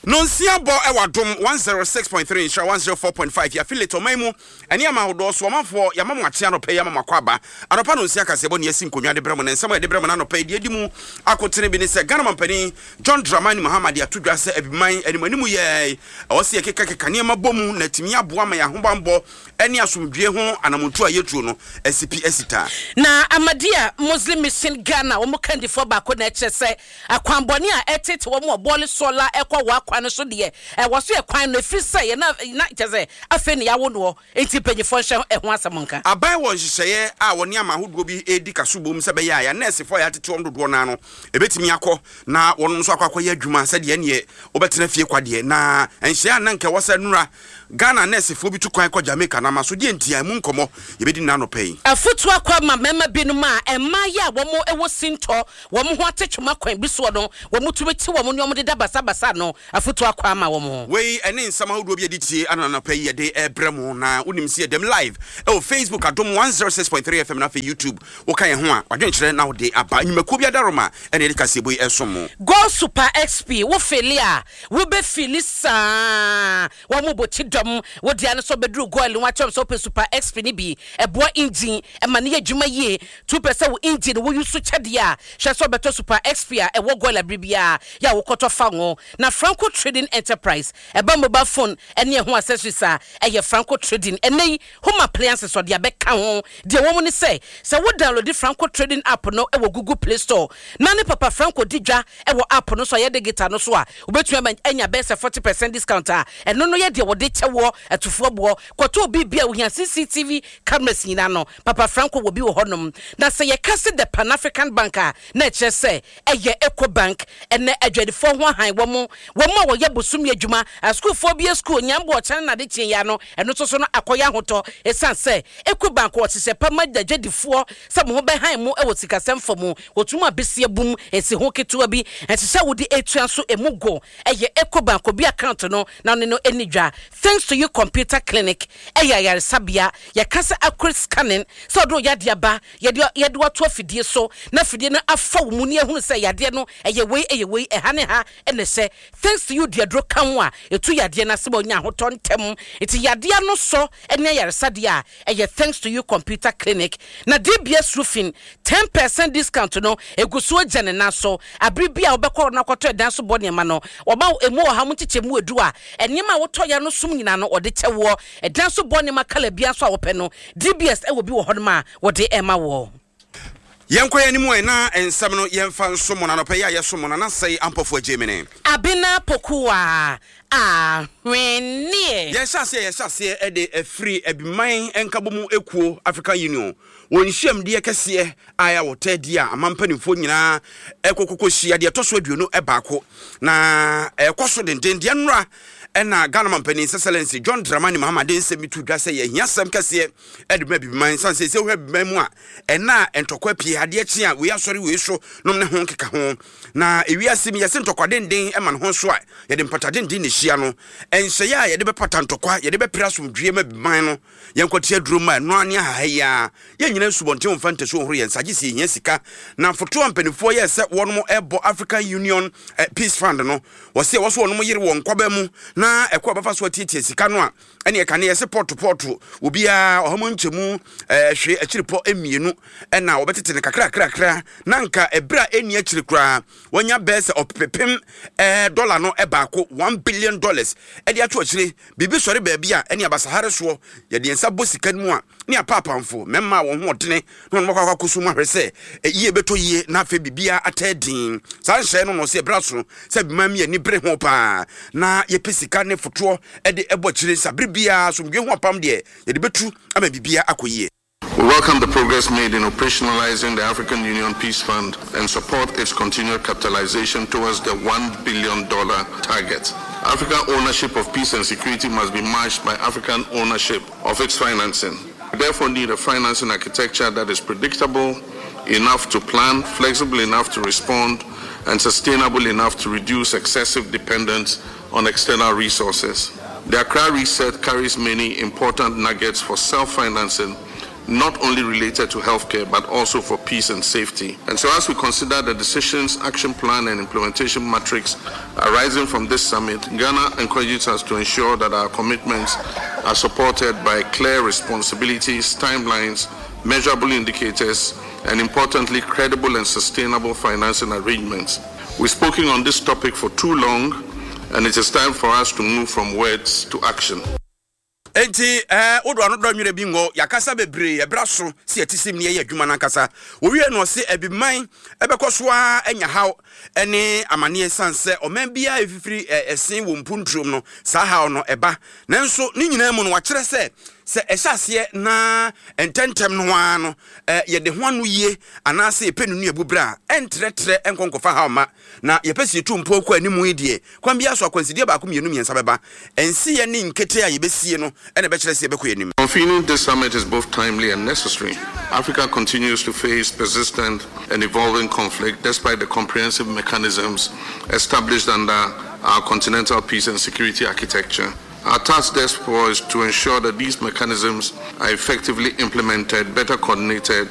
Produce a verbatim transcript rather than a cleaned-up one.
Nonsia bɔ ɛwɔ Adom one oh six point three, Nhyira one oh four point five, yɛ affiliate ɔman mu ɛne ama ahodoɔ so. Ɔmanfoɔ, yɛama mo akye anɔpɛ yi, ama mo akɔ aba. Anɔpa nonsia kaseɛ bɔ ne yɛasi nkonnwa de brɛ mo, ne nsɛm a yɛde brɛ mo no anɔpɛ yi deɛ di mu akotene bi ne sɛ Ghana mampanin John Dramani Mahama de ato dwa sɛ Abiman animanimu yɛ ɛwɔ sɛ yɛkekakeka nneɛma bɔ mu na atumi aboa ma yɛn ahobanbɔ ne asomdwie ho anamontu a yɛtuo no asi pi asi taa. Na Ahmadiyya Muslim Mission Ghana wɔn kandifoɔ baako na ɛkyerɛ sɛ akwanbɔne a ɛtete wɔn wɔ Bole Sawla ɛkɔ wɔ akwan no so deɛ, ɛwɔ so yɛ kwan no efiri sɛ yɛ na na kyerɛ sɛ afei ne yɛawo noɔ, nti mpanyinfoɔ nhyɛ ɛho asɛm nka. Aban wɔ nhyehyɛeɛ a wɔne ama ahodoɔ bi redi kaso bom sɛ bɛyɛ a yɛn nɛɛsefoɔ a yɛatete wɔn dodoɔ naa no ɛbɛtumi akɔ na wɔn nso akɔ akɔyɛ adwuma sɛdeɛ ɛneɛ wobɛtena fie kwa deɛ. Na nhyɛ a na nka ɛwɔ sɛ nura Ghana nɛɛsefoɔ bi tu kwan kɔ Jamaica na ama so deɛ ntia mu nkɔmmɔ yɛbɛdi nna anɔpɛ yi. Afotu akɔ ama mmarima binom a mmaa yi a wɔn wɔ sintɔ wɔn ho atetwoma kwan bi soɔ no, wɔn tumi te wɔn ne wɔn deda basabasa no, afotu akɔ ama wɔn. Wei ɛne nsɛm ahodoɔ bi yɛde tie ana anɔpɛ yi yɛde ɛbrɛ mu, na wonim sɛ yɛdɛm live ɛwɔ Facebook Adom one oh six point three F M na afei YouTube. Woka yɛn ho a, wadwenkyerɛ na wode aba. Nnwumakuo bi adaroma ɛne yɛde kaseɛbɔ yi ɛsom mo. Goil Super X P, wo fill a wobɛfill saa, wɔn mo bɔ ti dɔm wo deɛ no so bɛduru Goil no, wakyerɛm sɛ wopɛ Super X P no bi, ɛboa engine ɛma no yɛ adwuma yie. Tu pɛ sɛ wo engine woyi so kyɛdeɛ a, hwɛ sɛ wobɛtɔ Super X P a ɛwɔ Goil abere biara yɛ a wokɔtɔ fa ngo. Na Franco Trading Enterprise, ɛba mobile phone ɛne ɛho accessories a, ɛyɛ Franco Trading. Ɛnɛ yi home appliances ɔde abɛka ho deɛ wɔn ne sɛ sɛ wo download Franco Trading app no ɛwɔ Google Play Store na ne Papa Franco di dwa ɛwɔ app no so a yɛde digital no so a, wobɛtumi ama anya bɛyɛ sɛ forty percent discount a ɛno no yɛ deɛ wɔde kyɛwoɔ atufoɔ boɔ kɔtɔ obi bi a wohia C C T V cameras nyinaa no, Papa Franco wɔ bi wɔ hɔnom. Na sɛ yɛka se the Pan African Bank a, na ɛkyerɛ sɛ ɛyɛ Eco Bank. Ɛnɛ adwadifoɔ ho ahan wɔn wɔn a wɔyɛ bosomi adwuma, asukuufoɔ bi sukuu nyambo ɔkyɛn na ade kyeɛ ya no, ɛno nso so no akɔyɛ ahotɔ ɛsiane sɛ Eco Bank wɔhyehyɛ pa ma adwadifoɔ sɛ mo ho bɛhan mu ɛwɔ sikasɛm fa mu. Wɔtum abesia bum nsi ho ketewa bi ɛhyehyɛ wode etua nso emu go. Ɛyɛ Eco Bank obi account no na ɔne no ani dwa. Thanks To You Computer Clinic ɛyɛ ayaresabea yɛka sɛ accurate scanning, sɛ ɔde yadeɛ aba, yɛde yɛde wato afidie so na afidie no afa wo mu ne ehunu sɛ yadeɛ no ɛyɛ wei, ɛyɛ wei, ɛha ne ha ɛna ɛhyɛ. Thanks To You deɛ duro ka ho a etu yadeɛ no ase ma onya ahotɔ ntɛm, nti yadeɛ no sɔ ɛne ayaresadeɛ a ɛyɛ Thanks To You Computer Clinic. Na D B S Roofing ten percent discount no egu so agya ne nan so. Abere bi a wobɛkɔ na akɔtɔ ɛdan so bɔ nneɛma no, wɔma emu wɔ ha mo nkyekyɛ mu edu a nneɛma a wotɔ ya no som nyinaa no wɔde kyɛ woɔ. Ɛdan so bɔ nneɛma colour bia nso a wɔpɛ no, D B S ɛwɔ bi wɔ hɔnom a wɔde ɛma wɔ. Yɛnkɔ yɛn anim ɛ na nsɛm no yɛmfa nso mo. Nanɔpɛ yi a yɛso mo na nasɛe ampɔfo agye mene. Abena Pokuwa Ahwenneɛ. Yɛhyɛ aseɛ yɛhyɛ aseɛ ɛde afiri Abiman Nkabom Ekuo, African Union, wɔn nhyiamdeɛ kɛseɛ a ɛyɛ wɔtɛ di a ama mpanimfoɔ nyinaa ɛkɔkɔkɔ hyia deɛ ɛtɔ so aduonu ɛbaako na ɛkɔ so denden deɛ nnora. Ɛna Ghana mampanin Excellency John Dramani Mahama de nsɛm bi to dwa sɛ yɛhia sɛm kɛseɛ ɛde ma Abibiman san sɛ sɛ wohwɛ Abibiman mu a, ɛna a ntɔkwa pii adeɛ kye a wei asɔre wei so nom ne ho nkeka ho. Na ewiase mi yɛsɛ ntɔkwa denden ɛma ne ho so a yɛde mpata denden na ehyia no. Ɛnhyɛeɛ a yɛde bɛpata ntɔkwa, yɛde bɛpere asomdwie ma Abibiman no, yɛnkɔte aduro ma ɛno ne ahaha yi a yɛn nyina nsubɔnten mfa ntasuo nhoro yɛn nsa gye sɛ yɛhia sika. Na foto a mpanimfoɔ yɛ sɛ wɔnom ɛbɔ African Union eh, Peace Fund no, wɔsɛ ɛwɔ so wɔnom yere wɔn nkɔba mu na ɛkɔ a bɛfa so atiatia sika no a ɛne ɛka ne yɛsɛ pɔto pɔto obiara ɔha mu nkyɛmu ɛɛ hwee akyiri pɔ mmienu, ɛna wɔbɛtete no kakrakrakra na nka ɛberɛ a ɛnni akyiri koraa wɔnya bɛɛ sɛ ɔpepem ɛɛ dɔla no ɛbaako, one billion dollars, ɛde ato akyire. Biribi sɔre baabi a ɛne abasahare soɔ, yɛde yɛn nsa bɔ sika no mu a ne apaapanfo mmarima a wɔn ho ɔdene na wɔn akɔ akɔ so mu ahwɛ sɛ yie bɛtɔ yie na afei biribiara atɛ din. Saa nhyɛn no no sɛ ɛbrɛ so sɛ bima mi ani bere ho paa na yɛpɛ sika ne fotoɔ ɛde ɛbɔ akyire nsa bere biara asomdwe ho apam deɛ yɛde bɛtu ama biribiara akɔ yie. We welcome the progress made in operationalizing the African Union Peace Fund and support its continued capitalization towards the one billion dollars target. African ownership of peace and security must be matched by African ownership of its financing. We therefore need a financing architecture that is predictable enough to plan, flexible enough to respond, and sustainable enough to reduce excessive dependence on external resources. The Accra Reset carries many important nuggets for self-financing not only related to healthcare but also for peace and safety. And so, as we consider the decisions, action plan, and implementation matrix arising from this summit, Ghana encourages us to ensure that our commitments are supported by clear responsibilities, timelines, measurable indicators, and importantly, credible and sustainable financing arrangements. We've spoken on this topic for too long, and it is time for us to move from words to action. Enti ɛɛ wodo ano dɔ nwere bi ngɔ yakasa bebree ɛbra so si ɛte sim ne yɛyɛ adwuma nankasa. Wɔwie no, ɔse abiman ɛbɛkɔ so a anya haw ɛne amanneɛ san sɛ ɔman biara ɛfifiri ɛsen wɔ mpunturom no, saa haw no ɛba. Nanso ne nyinaa mu no, wakyerɛ sɛ sɛ ɛhyɛ aseɛ na ntɛntɛm no ara no yɛde ho ano yie anaasɛ yɛpɛ no nua berɛ a ɛntrɛtrɛ ɛnkɔ nkɔfa haw ma na yɛpɛ sɛ yɛtu mpo kɔ anim yi deɛ, kwan biara so akwansideɛ baako, mmienu, mmiɛnsa bɛba. Ɛnsiyɛ ne nkete a yɛbɛsie no ɛna ɛbɛkyerɛ sɛ yɛbɛkɔ anim. Convening this summit is both timely and necessary. Africa continues to face persistent and evolving conflict despite the comprehensive mechanisms established under our continental peace and security architecture. Our task, therefore, is to ensure that these mechanisms are effectively implemented, better coordinated,